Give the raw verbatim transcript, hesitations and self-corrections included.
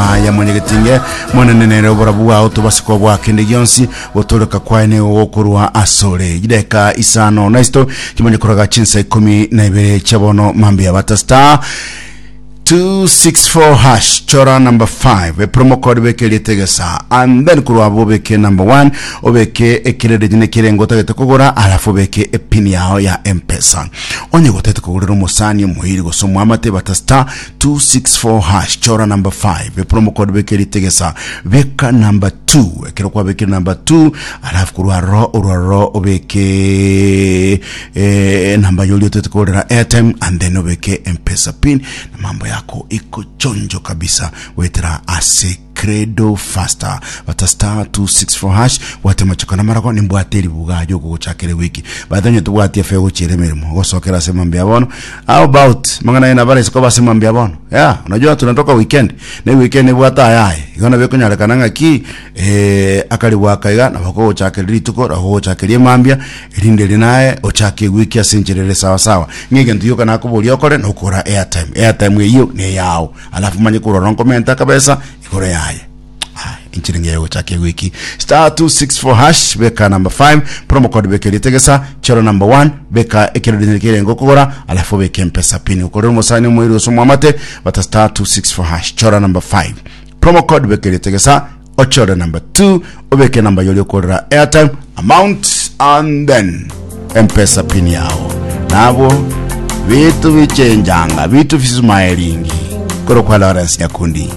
Aya mwenyegetinge monene nere oborabu bwao tobasiko bwa kende gionsi gotoreka kwaye nigo gokorwa asore gideka isano naisito kimanye koraga chinsa ikumi na ibere chiabono mambia bata star two six four hash, chora number five, e promo code beke rietegesa, and then kurwa abo obeke number one, obeke ekerere nyine kirengo otagete kogora, alafu obeke epin yao ya M-Pesa. Onye gotete kogorera omosani, omoiri gose omwamate, bata star two six four hash, chora number five, e promo code beke rietegesa, beka number two. Ekero kwabekire number two, alafu kurwa ro orwa obeke eh, namba yoli otete kogorera airtime, and then obeke M-Pesa pin na mambo yako iko chonjo kabisa. Wetera ase Credo Faster, bata star two six four hash, bwate machoka na marago nimbwate eribuga yogogochakera wiki bathanye tubwati efe gochiera emirimo gosokera ase mambia bono. How about mang'ana ena bare siko base mambia bono? Yeah, unajua tunatoka weekend na weekend ibwata ayaye igona bekonyarekana ng'aki eh akari bwakaiga na bakogochakera rituko ragogochakeria mambia erinde rinaye ochake wiki ase encherere sawa sawa. Ng'egento yoka nakoboria okore nokora airtime, airtime eyo ne yao, alafu manye kurora nkomenta kabesa igoro yaye. Inchiringi yayo gochaka wiki. Star two six four hash, beka number five, promo code beke ritegesa, choro number one, beka ekerere kirengo kogora, alafu beke M-Pesa pin ukorera umusani omoiri gose omwamate. Bata star two six four hash, chora number five, promo code beke ritegesa, ochore number two, obeke number yoli okorera airtime amount, and then M-Pesa pin yao. Nabo vitu vichenjanga vitu vismailingi koro kwa Lawrence Nyakundi.